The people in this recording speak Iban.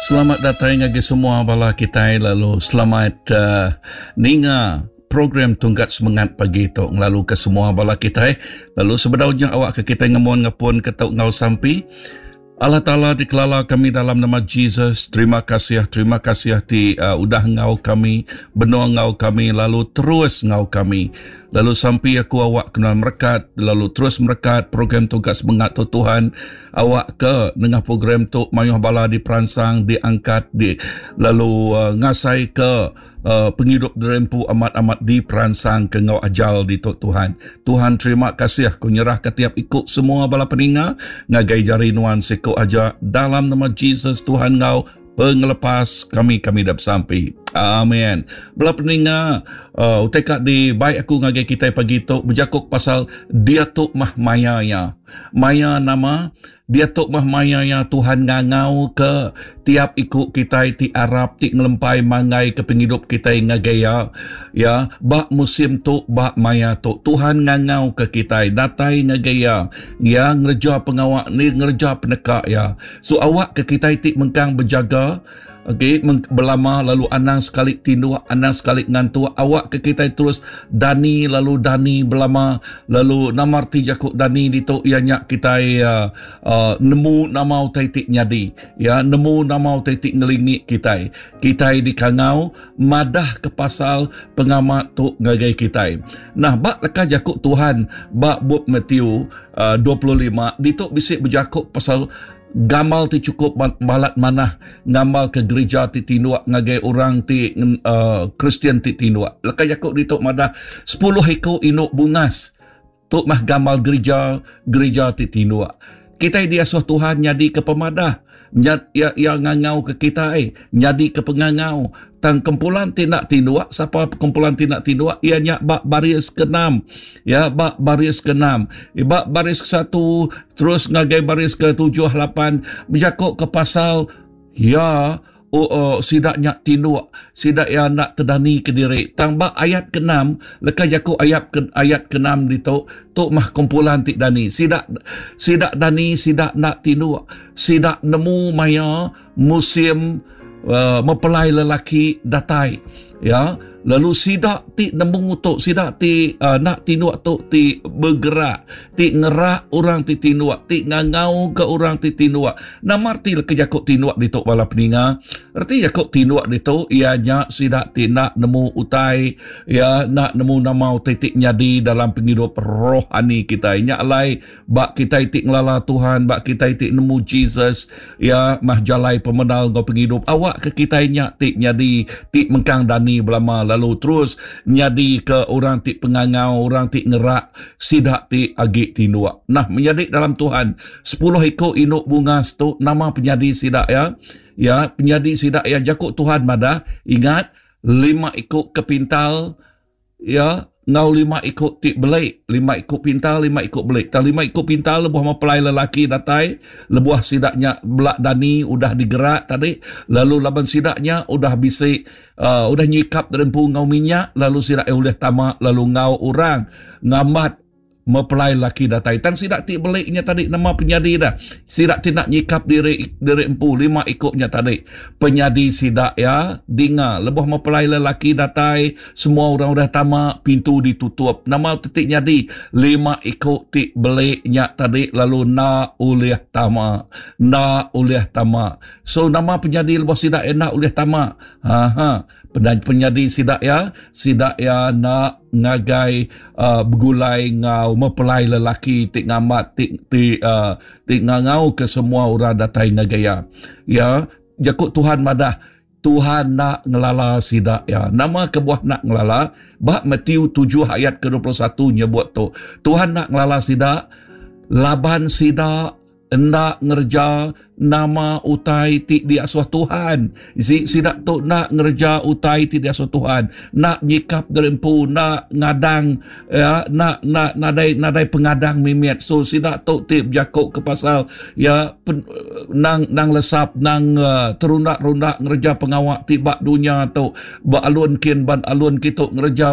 Selamat datai ngagai semua bala kitai lalu selamat uh, ninga program tungkat semengat pagi tu ngelalu ke semua bala kitai lalu sebedau nya awak ke kitai ngemon ngepun ke tau ngau sampi Allah Taala dikelala kami dalam nama Jesus. Terima kasih, terima kasih ti uh, udah ngau kami, benung ngau kami lalu terus ngau kami. Lalu sampi aku awak kena merekat, lalu terus merekat program tugas semengat tu Tuhan. Awak ke nengah program tu mayuh bala diperansang, diangkat, di lalu uh, ngasai ke uh, pengidup dirempu amat-amat diperansang ke ngau ajal di tu Tuhan. Tuhan terima kasih aku nyerah ke tiap ikut semua bala peninga ngagai jari nuan siku aja dalam nama Jesus Tuhan ngau pengelepas kami kami dah besampi. Amin. Bala peninga uh, utai ka di baik aku ngagai kita pagi tu berjakuk pasal dia tu mah maya ya. Maya nama Diatu meh maya iya Tuhan ngangau ke tiap iku kitai ti arap ti ngelempai manggai ke pengidup kitai ngagai Iya. Ya, ba musim tu, ba maya tu, Tuhan ngangau ke kitai datai ngagai Iya. Iya ngereja pengawa ni ngereja peneka Iya. So awak ke kitai ti mengkang bejaga, Agi belama lalu anang sekali tinduk, anang sekali ngantuk, awak ke kitai terus dani lalu dani belama lalu nama reti jaku dani ditu iya nya kitai uh, uh, nemu nama utai ti nyadi, ya nemu nama utai ti ngelingi kitai. Kitai dikangau madah ke pasal pengamat tu ngagai kitai. Nah, ba leka jaku Tuhan ba bup Matthew uh, 25 ditu bisi bejaku pasal Gamal ti chukup balat manah ngamalka gerija ti tinduk ngagai orang ti uh, Kristian ti tinduk. Leka jaku ditu madah 10 iku indu bungas. Tu mah gamal gerija gerija ti tinduk. Kitai diasuh Tuhan nyadi ke pemadah. Nyad, ya, ya ngangau ke kitai, nyadi ke pengangau. Tang kumpulan ti enda tinduk, sapa kumpulan ti enda tinduk? Iya nya ba baris ke-6. Ya, ba baris ke-6. Ba baris ke-1 terus ngagai baris ke-7, 8 bejaku ke pasal ya oh, oh, sida nya tinduk, sida iya enda tedani ke diri. Tang ba ayat ke-6, leka jaku ayat ke ayat ke-6 ditu, tu mah kumpulan ti dani. Sida sida dani, sida enda tinduk. Sida nemu maya musim uh, mempelai lelaki datai ya lalu sida ti nemu tu sida ti uh, nak tinduk tu ti bergerak ti ngerak orang ti tinduk ti ngangau ke orang ti tinduk nama reti ke jaku tinduk ditu bala peninga reti jaku tinduk ditu iya nya sida ti nak nemu utai ya nak nemu nama utai ti nyadi dalam pengidup rohani kita nya alai Ba kitai ti ngelala Tuhan, ba kitai ti nemu Jesus, ya mah jalai pemendar enggau pengidup. Awak ke kitai nya ti nyadi ti mengkang dani belama lalu terus nyadi ke orang ti pengangau, orang ti ngerak sida ti agi tinduk. Nah, menyadi dalam Tuhan, 10 iku indu bungas tu nama penyadi sida ya? Ya, penyadi sida ya jaku Tuhan madah, ingat lima iku ke pintal Iya enggau lima iku ti beli, lima iku pintar, lima iku beli. Tang lima iku pintar lebuh mempelai lelaki datai, lebuh sida nya bela dani udah digerak tadi, lalu laban sida nya udah bisi uh, udah nyikap diri empu enggau minyak, lalu sida ulih tama lalu enggau orang ngambat mempelai lelaki datai. Tang sida ti beli nya tadi nama penyadi dah. Sida ti nak nyikap diri diri empu lima iku nya tadi. Penyadi sida ya dinga lebuh mempelai lelaki datai semua orang udah tama pintu ditutup. Nama ti ti nyadi lima iku ti beli nya tadi lalu enda ulih tama. Enda ulih tama. So nama penyadi lebuh sida enda ulih tama? Ha ha. Penyadi sida iya, sida iya enda ngagai uh, begulai enggau mempelai lelaki ti ngamat ti ti uh, ti ngangau ke semua orang datai ngagai iya. Ya, jaku Tuhan madah Tuhan nak ngelala sida ya. Nama kebuah nak ngelala? Ba Matthew 7 ayat ke-21 nyebut tu. Tuhan nak ngelala sida laban sida enda ngereja nama utai ti diasuh Tuhan. Si, sida tu enda ngereja utai ti diasuh Tuhan. Enda nyikap diri empu, enda ngadang, ya, enda, enda, nadai, nadai pengadang mimit. So, sida tu ti bejaku ke pasal ya, pen, nang, nang lesap, nang uh, terunda-runda ngereja pengawa ti ba dunya tu. Ba alun kin, ban alun kitu ngereja.